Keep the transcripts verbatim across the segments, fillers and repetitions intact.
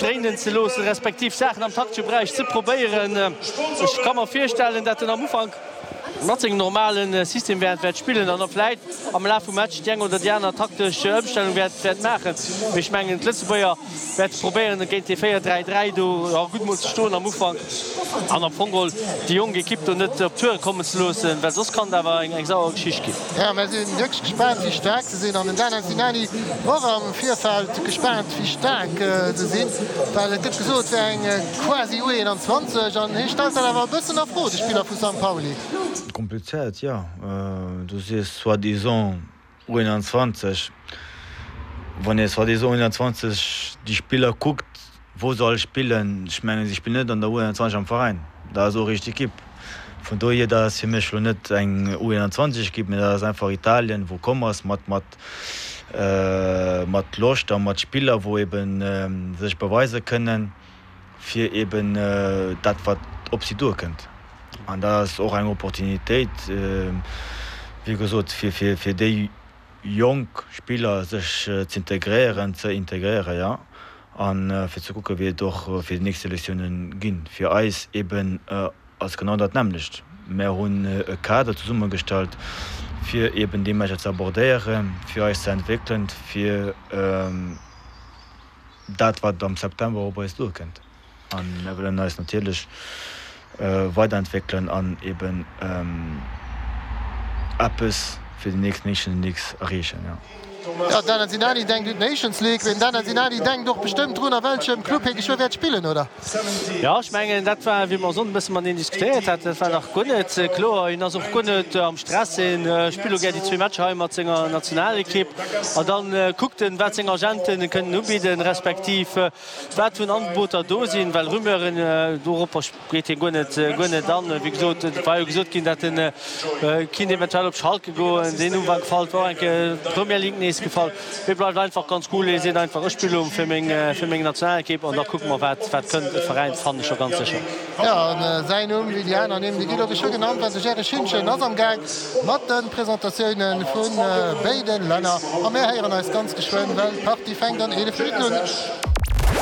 dréinen ze loossen, respektiv Saachen am taktesche Beräich ze probéieren. Ech ka mer virstellen, datt en am Ufank mat sengem normale System wäert wäert spillen an da vläit am Laf vum Match déi eng oder déi aner taktesch Ëmstellung wäert wäert maachen. Mee ech mengen, d'Lëtzebuerger wäerte probéieren, géint dee véier dräi dräi do, jo, gutt mol ze stoen am Ufank an am Fong geholl déi jonk Ekipp do net op d'Toure kommen ze loossen, well soss kann et awer eng eng sauer Geschicht ginn. Jo, mär si wierklech gespaant, wéi staark se sinn. An den Dana Sinani war och am Virfeld gespaant, wéi staark se sinn, well et gëtt gesot, et wär eng quasi U einundzwanzeg an hie stellt dat awer e bëssen a Fro, de Spiller vu Sankt Pauli. Komplizéiert, jo. Du sees soi-disant U einundzwanzeg. Wann ee soi-disant U einundzwanzeg déi Spiller kuckt, wou se all spillen, ech mengen, si spillen net an der U einundzwanzeg am Veräin, dat ass och eréischt d'Ekipp. Vun dohier, dat ass fir mech elo net eng U einundzwanzeg Ekipp, mä dat ass einfach Italien, wou komm ass mat mat mat Loscht a mat Spiller, wou eben sech beweise kënnen, fir eben dat wat op si duerkënnt. An dat ass och eng Opportunitéit, wéi gesot, fir fir fir déi jonk Spiller sech z'integréieren, ze integréieren, jo, a fir ze kucken, wéi et och fir déi nächst Selektiounen ginn. Fir eis eben ass genau dat nämmlecht. Mär hunn e Kader zesummegestallt, fir eben déi Matcher ze abordéieren, fir eis ze entwéckelen, fir dat, wat am September op eis duerkënnt. A mir wëllen eis natierlech weiderentwéckelen an eben eppes fir déi nächst Nations Leagues erreechen. Jo, d'Dana Sinani denkt un d'Nations League, mee den Dana Sinani denkt och bestëmmt drun, a welchem Club hie geschwë wäert spillen, oder? Jo, ech mengen, dat war, wéi mer e Sonnden e bësse mateneen diskutéiert haten, dat war nach guer net kloer. Hien ass och guer net am Stress, hien spillt elo gär déi zwee Matcher hei mat senger Nationalekipp an da kuckt en, wat seng Agenten kënnen ubidden, respektiv wat vun Angeboter do sinn, well Rumeuren doropper geet hien guer net, guer net an. Wéi gesot, et war jo gesot ginn, datt en kinnt eventuell op Schalke goen. Deen Numm war gefall, et war och eng Kéier d'Premier League nees gefall. Hie bleift einfach ganz cool, hie seet einfach, ech spille fir meng, fir meng Nationalekipp an da kucke mer, wat, wat kënnt. E Veräin fannen ech scho ganz sécher. Jo, an säin Numm, wéi déi aner Nimm, déi ginn och geschwë genannt, well de Jerry Schintgen ass am Gaang mat de Presentatioune vu béide Länner. A mär héieren eis ganz geschwënn, well d'Partie fänkt an eelef Minutten un.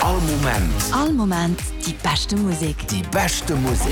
All Moment. All Moment déi beschte Musek. Déi beschte Musek.